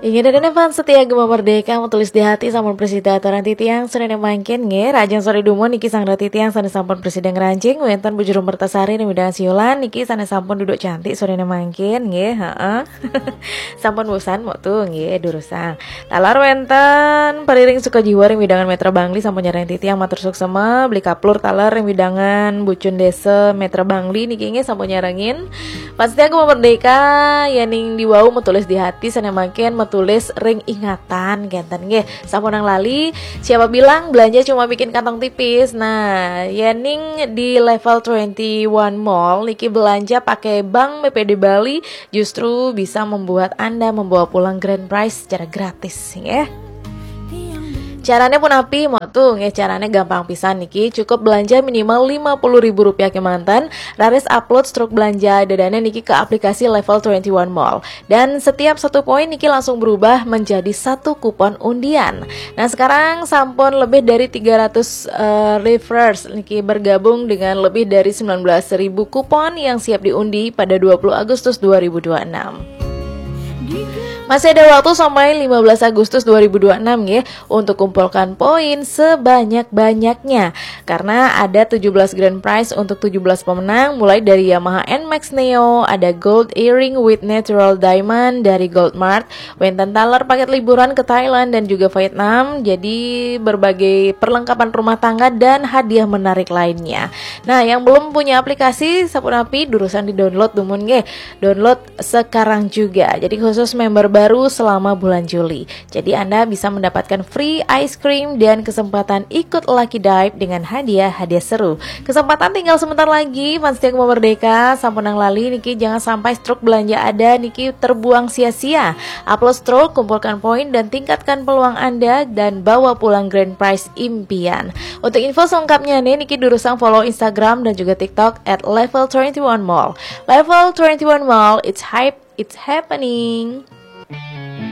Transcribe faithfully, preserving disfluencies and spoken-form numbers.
Inggih, dane fans setia Gema Merdeka, matulis di hati sampun prasida aturang titiang sore mangkin nggih. Rahajeng sore dumun niki sareng titiang sane sampun prasida ngranjing wenten Bujur Mertasari ring wewidangan Siulan niki sane sampun duduk cantik sore mangkin nggih, heeh. Sampun bosan mok tu nggih durusang. Taler wenten Pariring Sukajiwa ring wewidangan Metra Bangli sampun nyarengin titiang matur suksma, Beli Kaplur taler ring wewidangan Bucun Desa Metra Bangli niki nggih sampun nyarengin. Pasti aku mau merdeka, yening diwau matulis di hati sane mangkin matulis ring ingatan kenten nggih. Sampunang lali, siapa bilang belanja cuma bikin kantong tipis. Nah, yening di Level twenty one Mall niki belanja pakai Bank B P D Bali justru bisa membuat Anda membawa pulang grand prize secara gratis nggih. Carane punapi mok tu nggih, carane gampang pisan niki, cukup belanja minimal lima puluh ribu rupiah kemanten, raris upload struk belanja dadane niki ke aplikasi Level twenty one Mall. Dan setiap satu poin niki langsung berubah menjadi satu kupon undian. Nah, sekarang sampun lebih dari tiga ratus eh, referrals niki bergabung dengan lebih dari sembilan belas ribu kupon yang siap diundi pada dua puluh Agustus dua ribu dua enam. Masih ada waktu sampai lima belas Agustus dua ribu dua enam nggih untuk kumpulkan poin sebanyak-banyaknya. Karena ada tujuh belas grand prize untuk tujuh belas pemenang, mulai dari Yamaha N Max Neo, ada gold earring with natural diamond dari Gold Mart, wenten taler paket liburan ke Thailand dan juga Vietnam. Jadi berbagai perlengkapan rumah tangga dan hadiah menarik lainnya. Nah, yang belum punya aplikasi sapunapi durusang di-download dumun nggih. Download sekarang juga. Jadi khusus member baru selama bulan Juli. Jadi Anda bisa mendapatkan free ice cream dan kesempatan ikut lucky dive dengan hadiah-hadiah seru. Kesempatan tinggal sebentar lagi, fans setia Gema Merdeka, sampunang lali niki jangan sampai struk belanja ada niki terbuang sia-sia. Upload struk, kumpulkan poin dan tingkatkan peluang Anda dan bawa pulang grand prize impian. Untuk info selengkapnya nih, niki durusang follow Instagram dan juga TikTok at level twenty one mall. Level twenty one Mall, it's hype, it's happening.